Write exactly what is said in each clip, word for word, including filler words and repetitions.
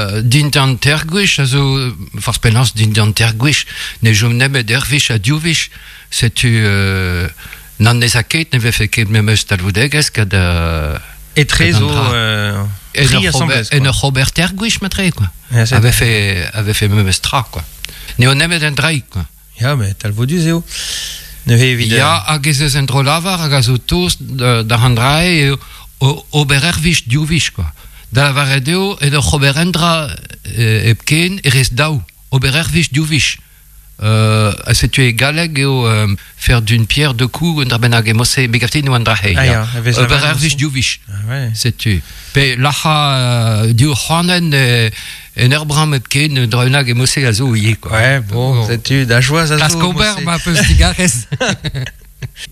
euh, dindan tergwich, a zo, farz penaos dindan tergwich, ne jom nemet ervich ha diovich, setu euh, nan ez a ket, ne vefe ket memeus talvoudegezh kad... Euh, Etre zo... Euh, en ur en ur ober tergwich matre, quoi. Ja, a vefe, a vefe memeus tra, quoi. N'eo nemet en draig, quoi. Ja, met talvoudus eo. Neuze evit... Ya, hag ez eus en dro lavar hag a zo toz da an drae eo ober ervich diovich, quoi. Da lavaret eo, en ur ober endra hepken erez daou. Ober ervich diovich. Euh, a setu e galleg eo euh, faire d'une pierre deux coups un dra bennak e mose begafte no an dra hei. Ah, ya, ober ervich diovich. Ah, ouais. Setu. Pe lacha euh, div c'hoanen e, en ur bram hepken dra bennak e mose a zo ivez, quoi. Ouais, bon, setu da joaz a zo. Klask ober ma peus digarez.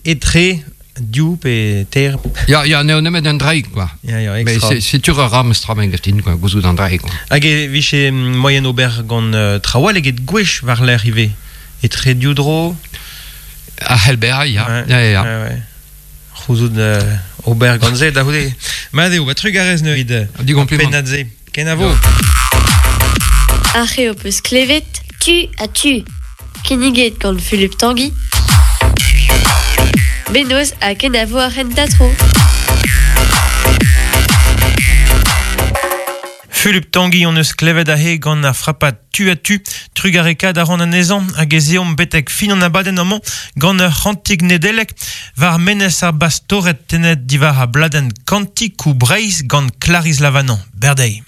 Etre div pe ter. Ya, ya, n'eo nemet an draig, quoi. Ya, ya, Mais extra. setu ur ram stra men gaftin, quoi, gouzout an draig, quoi. Hag e viche moyen ober gant uh, trawal eget gwech war l'air ivez. Etre div dro. A c'hell bezañ, ya. Ouais, Ya, ya, ya. ouais, ouais. C'houzout euh, ober gant se da c'houde. Mat eo, ba trugarez neuze evit Di compliment. pennad se. Kenavo. Ar c'heo peus klevet, tu a tu. Kinniget gant Philippe Tanguy. Benoz ha kenavo ar c'hentañ-tro. Philippe Tanguy on eus klevet ahe gant ar frapat tu a tu, trugareka da ran anezhañ hag ez eomp betek fin an abadenn amañ gant ur c'hantik Nedelec war menez ar bastoret tenet diwar a bladenn Kantikou Breizh gant Clarisse Lavanant. Berdei.